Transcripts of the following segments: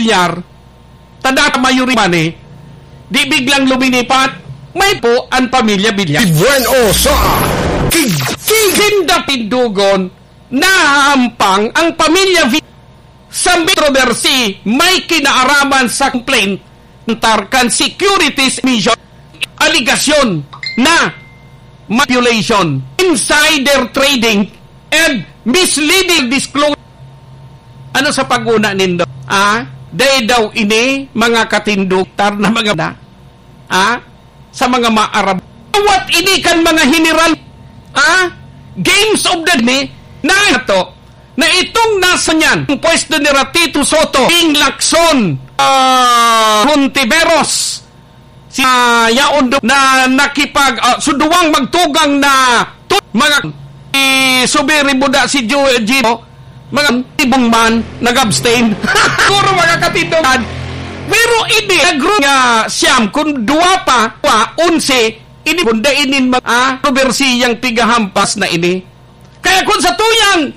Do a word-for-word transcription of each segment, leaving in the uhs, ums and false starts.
Villar, tada mayorya man eh, di biglang luminipat, may po ang pamilya Villar. Bueno sa King, King. Sinda tindugon, nahahampang ang pamilya Villar sa controversy may kinaaraman sa complaint tar kan Securities Commission, aligasyon na manipulation, insider trading, and misleading disclosure. Ano sa pag-una nindo? Ah, dai daw ini mga katindog tar na mga na, ah, sa mga maarab. Awat ini kan mga general, ah, games of the ni na ito, na itong nasa niyan, ang pwesto ni Ratito Soto, King Lacson, ah, Hontiveros, si, ah, yaon do-, na nakipag, ah, so duwang magtugang na tu-, mga, si Subiri Buda, si Ju-, Gino, mga tibong man, nag-abstain. Siguro mga katindogan. Pero ini, nagro nga siyam, kung duwa pa, duwa, onse, ini, kung da inin mag-, ah, kontrobersiyang pigahampas na ini. Kaya kung sa tuyang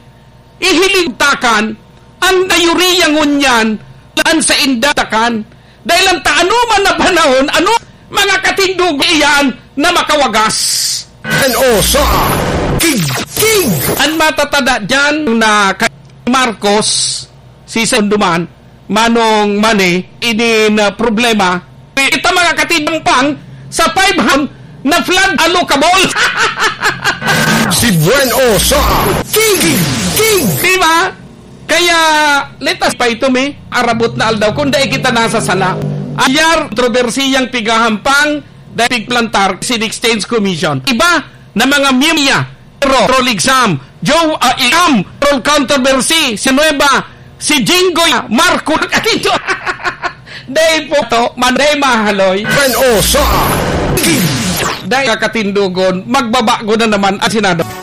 ihiling takan, ang mayoriya ngunyan, an sa inda takan. Dahil ang ta-, ano man na panahon, ano mga katindog iyan na makawagas? N O sa King, King. Ang matatada dyan na kay Marcos, si Sonduman, Manong Mane, ini na problema. Ita mga katindog pang sa five hundred na flood allocable. Si Bueno sa King, King. Di ba? Kaya, let us pa ito, mi. Arabot na aldaw, kung dai kita nasa sala. Ayar, kontrobersiyang pigahampang, dai pigplantar, si Exchange Commission. Iba na mga miyemya, Pero, Rol Exam, Joe, ah, Exam, Rol Controversy, si Nueva, si Jinggoy, Marco, Katito. Dahil po to, manday mahaloy. Bueno sa King. Dahil kakatindogon, magbabago na naman ang Senado.